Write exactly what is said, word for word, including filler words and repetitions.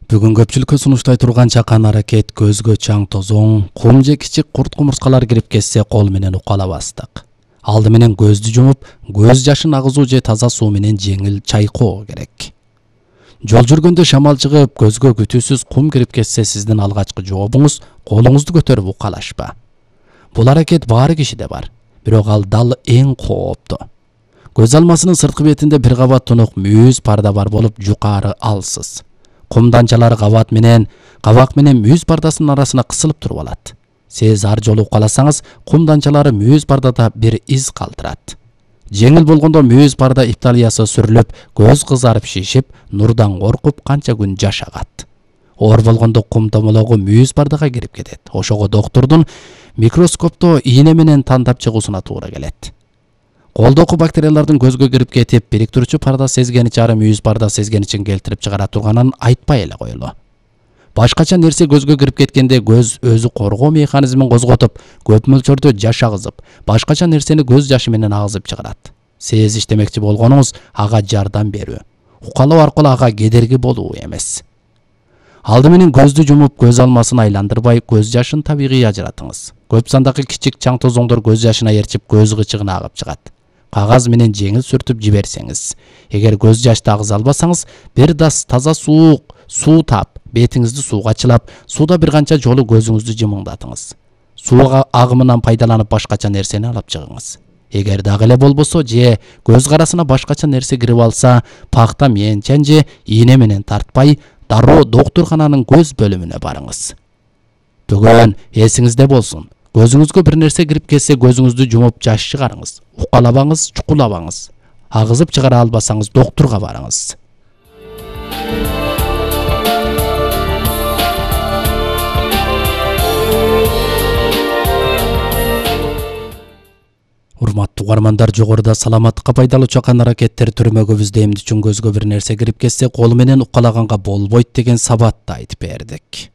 Бүгүн көпчүлүккө сунуштай турган чакан аракет көзгө чаң тозоң, кум же кичик курт кумурскалар кирип кетсе кол менен укалабастык. Алды менен көздү жумуп, көз жашын агызуу же таза суу менен жеңил чайкоо керек. Жол жүргөндө шамал чыгып, көзгө күтүүсүз кум кирип кетсе сиздин алгачкы жообуңуз колуңузду көтөрүп укалашпа. Бул аракет баары кишиде бар, бирок ал дал эң кооптуу. Көз алмасынын сырткы бетинде бир кабат тунук мүйүз парда бар болуп, жукары алсыз. Кум данчалары кабат менен, кабак менен мүйүз пардасынын арасына кысылып туруп алат. Сиз ар жолу укаласаңыз, кум данчалары мүйүз пардада бир из калтырат. Жеңил болгондо мүйүз парда италиясы сүрүлүп, көз кызарып шишип, нурдан коркуп канча күн жашагат. Оор болгондо кум томологу мүйүз пардага кирип кетет. Ошого доктурдун микроскопто ийне менен тандап чыгуусуна туура келет. Колдоку бактериялардын көзгө кирип кетип, бириктирүүчү парда сезгени чары мүйүз парда сезгеничин келтирип чыгара турганын айтпай эле коелу. Башкача нерсе көзгө кирип кеткенде көз өзү коргоо механизмин козготуп, көп мөлчөрдө жаш агызып, башкача нерсени көз жашы менен агызып чыгарат. Сиз иштемекчи болгонуңуз ага жардам берүү, укалоо аркылуу ага кедерги болуу эмес. Алды менен көздү жумуп, көз алмасын айландырбай, көз жашын табигый ажыратыңыз. Көп сандагы кичик чаң тозоңдор көз жашына ээрчип, көз кычыгына агып чыгат. Кагаз менен жеңил сүртүп жиберсеңиз, эгер көз жашты агыза албасаңыз, бир дас таза суук суу тап, бетиңизди сууга чылап, сууда бир канча жолу көзүңүздү жымыңдатыңыз. Суу агымынан пайдаланып башкача нерсени алып чыгыңыз. Эгер дагы эле болбосо же көз карасына башкача нерсе кирип алса, пакта менчен же ийне менен тартпай, дароо доктуркананын көз бөлүмүнө барыңыз. Бүгүн эсиңизде болсун. Көзүңүзгө бир нерсе кирип кетсе, көзүңүздү жумуп жаш чыгарыңыз. Укалабаңыз, чукулабаңыз. Агызып чыгара албасаңыз, доктурга барыңыз. Урматтуу угармандар, жогоруда саламаттыкка пайдалуу чакан аракеттер түрмөгүбүздө эмне үчүн көзгө бир нерсе кирип кетсе, кол менен укалаганга болбойт деген сабатты айтып бердик.